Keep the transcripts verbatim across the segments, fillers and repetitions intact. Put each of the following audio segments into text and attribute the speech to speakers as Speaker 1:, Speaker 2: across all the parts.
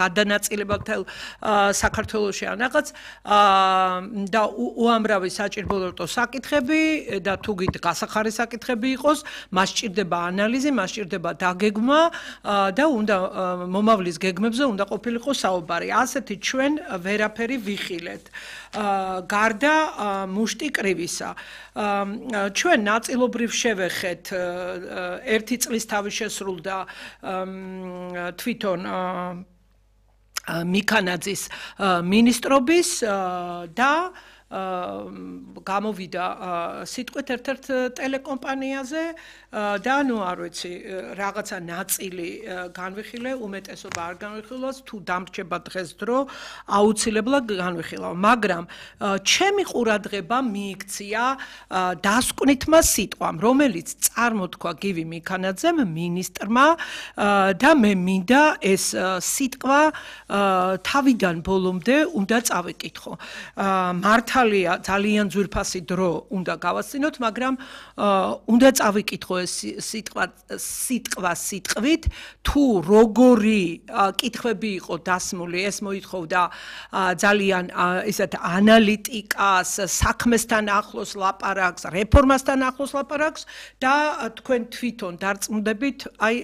Speaker 1: გადანაწილება მთელ საქართველოში ან რაღაც და უამრავი საჭიროებო საკითხები და თუ გით გასახარი საკითხები იყოს, მას ჭირდება ანალიზი, მას ჭირდება დაგეგმა და უნდა მომავლის გეგმებზე უნდა ყოფილიყო საუბარი. ასეთი ჩვენ ვერაფერი ვიხილეთ. გარდა მუშტი კრივისა. ჩვენ ნაწილობრივ შევეხეთ ერთი წლის თავი შესრულდა თვითონ მიქანაძის მინისტრობის და გამოვიდა სიტყვით ერთ-ერთ ტელეკომპანიაზე და ნუ არ ვიცი რაღაცა ნაწილი განვიხილე, უმეტესობა არ განვიხილავს, თუ დამრჩება დღეს დრო, აუცილებლად განვიხილავ, მაგრამ ჩემი ყურადღება მიიქცია დასკვნითმა სიტყვამ, რომელიც წარმოთქვა გივი მიქანაძემ მინისტრმა და მე მინდა ეს სიტყვა თავიდან ბოლომდე უნდა წავიკითხო. მართა ძალიან ძვირფასი დრო უნდა გავასწინოთ, მაგრამ უნდა წავიკითხო ეს სიტყვა სიტყვა სიტყვით, თუ როგორი კითხვები იყო დასმული, ეს მოითხოვდა ძალიან ისეთ ანალიტიკას, საქმესთან ახლოს ლაპარაკს, რეფორმასთან ახლოს ლაპარაკს და თქვენ თვითონ დარწმუნდებით, აი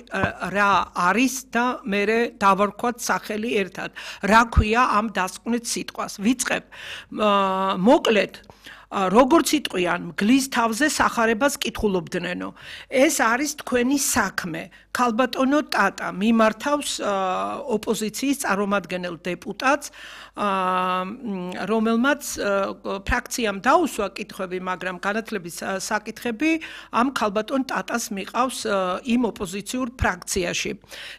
Speaker 1: რა არის და მე დავარქვათ სახელი ერთად. რა ქვია ამ დასკვნით სიტყვას? ვიწყებ მოკლედ როგორც იტყვიან მგლის თავზე სახარებას კითხულობდნენო ეს არის თქვენი საქმე ქალბატონო ტატა მიმართავს ოპოზიციის წარმომადგენელ დეპუტატს რომელმაც ფრაქციამ დაუსვა კითხვები მაგრამ განათლების საკითხები ამ ქალბატონ ტატას მიყავს იმ ოპოზიციურ ფრაქციაში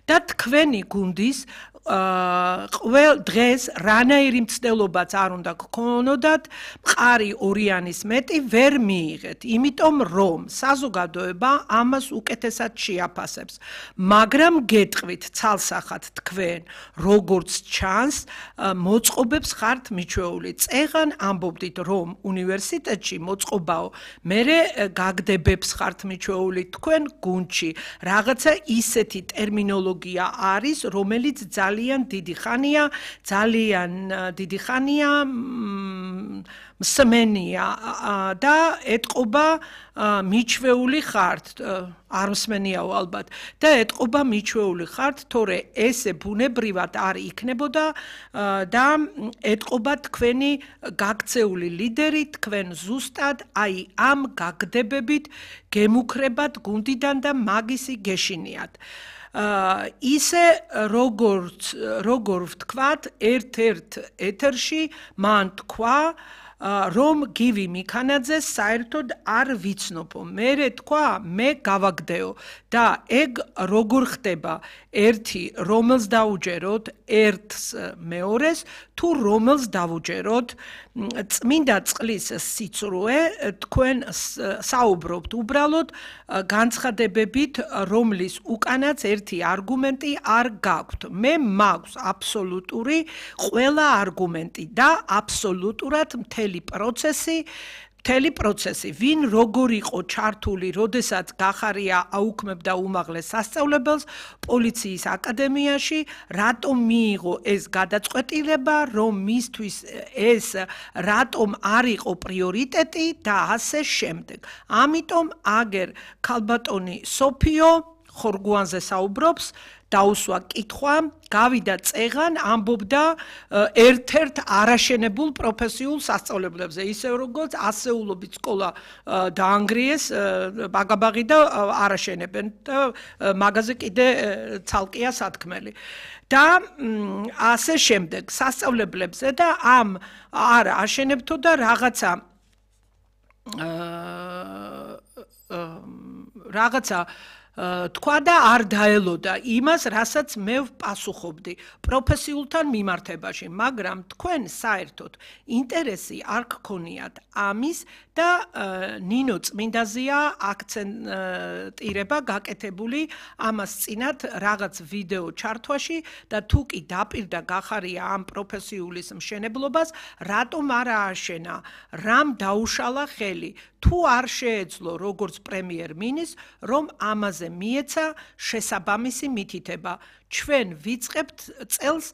Speaker 1: და თქვენი გუნდის ყველ დღეს რანაირი მცდელობაც არ უნდა გქონოდათ მყარი ორიანის მეტი ვერ მიიღეთ იმიტომ რომ საზოგადოება ამას უკეთესად შეაფასებს მაგრამ გეტყვით ცალსახად თქვენ როგორც ჩანს მოწყობებს ხართ მიჩვეული წეღან ამბობდით რომ უნივერსიტეტში მოწყობაო მერე გაგდებებს ხართ მიჩვეული თქვენ გუნდში რაღაცა ისეთი ტერმინოლოგია არის რომელიც ძალიან ძალიან დიდი ხანია, ძალიან დიდი ხანია მსმენია და ეთყობა მიჩვეული ხართ, არ მსმენიაო ალბათ და ეთყობა მიჩვეული ხართ, თორე ესე ბუნებრივად არ იქნებოდა და ეთყობა თქვენი გაქცეული ლიდერი, თქვენ ზუსტად აი ამ გაგდებებით გემუქრებათ გუნდიდან და მაგისი გეშინიათ. ისე როგორც როგორ ვთქვათ ერთ-ერთ ეთერში მან თქვა რომ გივი მიქანაძე საერთოდ არ ვიცნობო მე თქვა მე გავაგდეო და ეგ როგორ ხდება ერთი რომელს დაუჯეროთ ერთს მეორეს თუ რომელს დავუჯეროთ წმინდა წყლის სიცრუე თქვენ საუბრობთ უბრალოდ განცხადებებით რომლის უკანაც ერთი არგუმენტი არ გაქვთ მე მაქვს აბსოლუტური ყველა არგუმენტი და აბსოლუტურად მთელი პროცესი მთელი პროცესი ვინ როგორ იყო ჩართული როდესაც გახარია აუქმებდა უმაღლეს სასწავლებელს პოლიციის აკადემიაში რატომ მიიღო ეს გადაწყვეტილება რომ მისთვის ეს რატომ არ იყო პრიორიტეტი და ასე შემდეგ ამიტომ აგერ ქალბატონი სოფიო ხორგუანზე საუბრობს დაუსვა კითხვა გავიდა წეღან ამბობდა ერთ-ერთ არაშენებულ პროფესიულ სასწავლებლებზე ისე როგორც ასეულობით სკოლა დაანგრიეს ბაგაბაღი და არაშენებენ და მაგაზე კიდე ცალკეა სათქმელი და ასე შემდეგ სასწავლებლებზე და ამ არ აშენებთო და რაღაცა რაღაცა თქვა და არ დაელოდა იმას, რასაც მე ვპასუხობდი პროფესიულთან მიმართებაში, მაგრამ თქვენ საერთოდ ინტერესი არ გქონიათ ამის და ნინო წმინდაზია აქცენტირება გაკეთებული ამას წინათ რაღაც ვიდეო ჩართვაში და თუ კი დაპირდა გახარია ამ პროფესიულის მშენებლობას, რატომ არ ააშენა, რამ დაუშალა ხელი თუ არ შეეძლო როგორც პრემიერ-მინისტრს რომ ამაზე მაზე მიეცა შესაბამისი მითითება. ჩვენ ვიწყებთ წელს